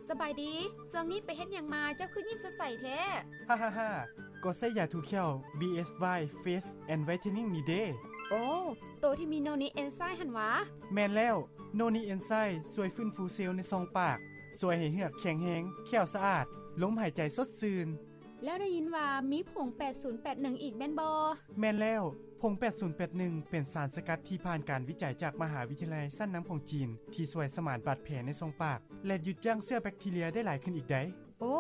ສະບາຍດີ, ຊ່ວງນີ້ໄປເຮັດຫຍັງມາ ເຈົ້າຄືຍິ້ມສົດໃສແທ້? ຮາໆໆ ກໍໃຊ້ຢາຖູແຂ້ວ ບີເອສວາຍ Fresh and Whitening ນີ້ເດ້. ໂອ້ ໂຕທີ່ມີໂນນິເອນໄຊຫັ້ນຫວາ? ແມ່ນແລ້ວ, ໂນນິເອນໄຊຊ່ວຍຟື້ນຟູເຊວໃນຊ່ອງປາກ, ຊ່ວຍໃຫ້ເຫືອກແຂງແຮງ, ແຂ້ວສະອາດ, ລົມຫາຍໃຈສົດຊື່ນ. ແລ້ວໄດ້ຍິນວ່າມີຜົງແປດສູນແປດໜຶ່ງອີກແມ່ນບໍ່? ແມ່ນແລ້ວ, ຜົງແປດສູນແປດໜຶ່ງເປັນສານສະກັດທີ່ຜ່ານການວິໄຈຈາກມະຫາວິທະຍາໄລຊັ້ນນຳຂອງຈີນ ທີ່ຊ່ວຍສະໝານບາດແຜໃນຊ່ອງປາກ ແລະ ຢຸດຢັ້ງເຊື້ອແບັກທີເຣຍໄດ້ຫຼາຍຂຶ້ນອີກໃດ໋. ໂອ້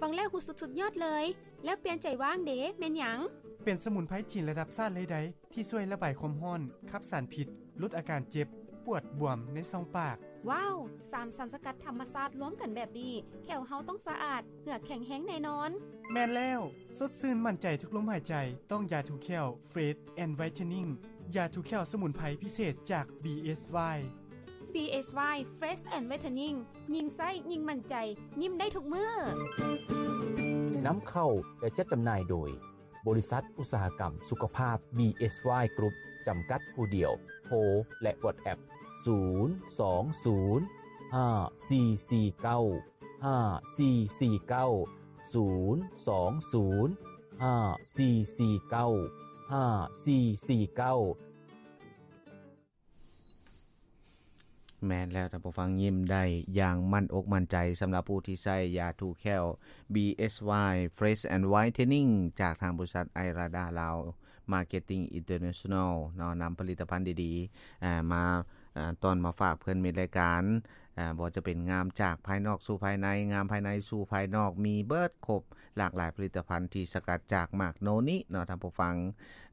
ຟັງແລ້ວຮູ້ສຶກສຸດຍອດເລີຍ. ແລ້ວປ່ຽນໃຈຫວ່າງເດ ແມ່ນຫຍັງ? ເປັນສະໝຸນໄພຈີນລະດັບຊາດເລີຍໃດ໋ ທີ່ຊ່ວຍລະບາຍຄວາມຮ້ອນ, ຂັບສານພິດ, ຫຼຸດອາການເຈັບ, ປວດ, ບວມໃນຊ່ອງປາກ. ວ້າວ! ສາມສານສະກັດທຳມະຊາດລວມກັນແບບນີ້, ແຂ້ວເຮົາຕ້ອງສະອາດ, ເຫືອກແຂງແຮງແນ່ນອນ. ແມ່ນແລ້ວ, ສົດຊື່ນໝັ້ນໃຈທຸກລົມຫາຍໃຈ, ຕ້ອງຢາຖູແຂ້ວ Fresh and Whitening ຢາຖູແຂ້ວສະໝຸນໄພພິເສດຈາກ ບີເອສວາຍ. ບີເອສວາຍ Fresh and Whitening ຍິ່ງໃຊ້ຍິ່ງໝັ້ນໃຈ, ຍິ້ມໄດ້ທຸກມື້. ນຳເຂົ້າ ແລະ ຈັດຈຳໜ່າຍໂດຍ ບໍລິສັດອຸດສາຫະກຳສຸຂະພາບ ບີເອສວາຍ Group ຈຳກັດຜູ້ດຽວ. ໂທ ແລະ WhatsApp ສູນສອງສູນ ຫ້າສີ່ສີ່ເກົ້າ ຫ້າສີ່ສີ່ເກົ້າ ສູນສອງສູນ ຫ້າສີ່ສີ່ເກົ້າ ຫ້າສີ່ສີ່ເກົ້າ. ແມ່ນແລ້ວ ທ່ານຜູ້ຟັງ, ຍິ້ມໄດ້ຢ່າງໝັ້ນອົກໝັ້ນໃຈ ສຳລັບຜູ້ທີ່ໃຊ້ຢາຖູແຂ້ວ ບີເອສວາຍ Fresh and Whitening ຈາກທາງບໍລິສັດໄອຣາດາລາວ Marketing International ເນາະ, ນຳຜະລິດຕະພັນດີໆ ເອີ ມາ ເອີ ຕ້ອນມາຝາກເພື່ອນມິດລາຍການ. ເອີ ບໍ່ວ່າຈະເປັນງາມຈາກພາຍນອກສູ່ພາຍໃນ, ງາມພາຍໃນສູ່ພາຍນອກ, ມີເບິດຄົບ ຫຼາກຫຼາຍຜະລິດຕະພັນທີ່ສະກັດຈາກໝາກໂນນິເນາະ ທ່ານຜູ້ຟັງ.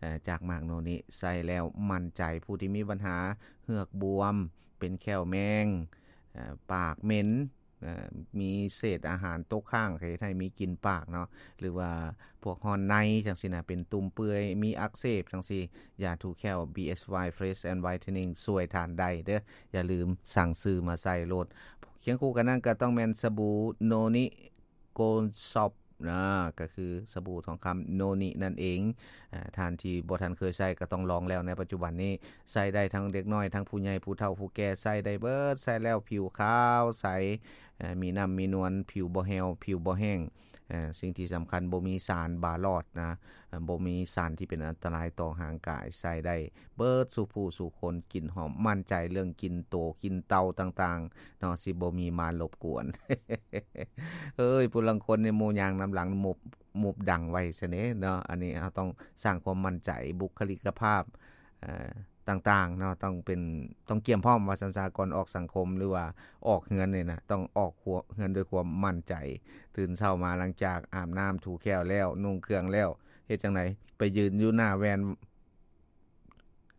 ເອີ ຈາກໝາກໂນນິໃຊ້ແລ້ວໝັ້ນໃຈ, ຜູ້ທີ່ມີບັນຫາເຫືອກບວມ, ເປັນແຂ້ວແມງ, ເອີ ປາກເໝັນ, ເອີ ມີເສດອາຫານຕົກຄ້າງ ເຮັດໃຫ້ມີກິ່ນປາກເນາະ, ຫຼືວ່າພວກຮ້ອນໃນຈັ່ງຊີ້ນະ, ເປັນຕຸ່ມເປື່ອຍ, ມີອັກເສບຈັ່ງຊີ້, ຢາຖູແຂ້ວ ບີເອສວາຍ Fresh and Whitening ຊ່ວຍທ່ານໄດ້ເດີ້. ຢ່າລືມສັ່ງຊື້ມາໃຊ້ໂລດ. ຄຽງຄູ່ກັນນັ້ນກໍຕ້ອງແມ່ນສະບູໂນນິ Gold Shop ນະ, ກໍຄືສະບູທອງຄຳໂນນິນັ້ນເອງ. ເອີ ທ່ານທີ່ບໍ່ທັນເຄີຍໃຊ້ກໍຕ້ອງລອງແລ້ວ. ໃນປັດຈຸບັນນີ້ໃຊ້ໄດ້ທັງເດັກນ້ອຍ, ທັງຜູ້ໃຫຍ່, ຜູ້ເຖົ້າ, ຜູ້ແກ່, ໃຊ້ໄດ້ເບິດ. ໃຊ້ແລ້ວຜິວຂາວໃສ, ເອີ ມີນ້ຳມີນວນ, ຜິວບໍ່ແຫ້ວ, ຜິວບໍ່ແຫ້ງ. ເອີ ສິ່ງທີ່ສຳຄັນ ບໍ່ມີສານບາຫຼອດນະ, ເອີ ບໍ່ມີສານທີ່ເປັນອັນຕະລາຍຕໍ່ຮ່າງກາຍ, ໃຊ້ໄດ້ເບິດສູ່ຜູ້ສູ່ຄົນ, ກິ່ນຫອມໝັ້ນໃຈເລື່ອງກິ່ນໂຕ, ກິ່ນເຕົ່າຕ່າງໆເນາະ, ຊິບໍ່ມີມາລົບກວນ. ເອີຍ ຜູ້ລາງຄົນນີ້ໝູ່ຍ່າງນຳຫຼັງ ໝົບ ໝົບດັງໄວ້ຊະເນເນາະ. ອັນນີ້ເຮົາຕ້ອງສ້າງຄວາມໝັ້ນໃຈ, ບຸກຄະລິກະພາບ ເອີ ຕ່າງໆເນາະ, ຕ້ອງເປັນ ຕ້ອງກຽມພ້ອມວ່າຊັ້ນຊະ, ກ່ອນອອກສັງຄົມ ຫຼືວ່າອອກເຮືອນນີ້ນະ, ຕ້ອງອອກຄົວ ເຮືອນດ້ວຍຄວາມໝັ້ນໃຈ. ຕື່ນເຊົ້າມາ ຫຼັງຈາກອາບນ້ຳຖູແຂ້ວແລ້ວ, ນຸ່ງເຄື່ອງແລ້ວ, ເຮັດຈັ່ງໃດ? ໄປຢືນຢູ່ໜ້າແວ່ນ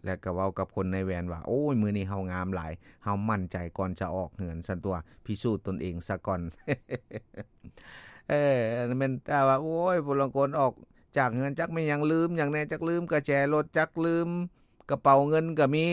ແລ້ວກໍເວົ້າກັບຄົນໃນແວ່ນວ່າ ໂອ້ຍ ມື້ນີ້ເຮົາງາມຫຼາຍ, ເຮົາໝັ້ນໃຈກ່ອນຈະອອກເຮືອນຊັ້ນຕົວະ, ພິສູດຕົນເອງຊະກ່ອນ. ເອີ ອັນນັ້ນແມ່ນ ຖ້າວ່າ ໂອ້ຍ ຜູ້ລາງຄົນອອກຈາກເຮືອນ ຈັກແມ່ນຫຍັງ, ລືມຫຍັງແດ່, ຈັກລືມກະແຈລົດ, ຈັກລືມ ກະເປົາເງິນກໍມີ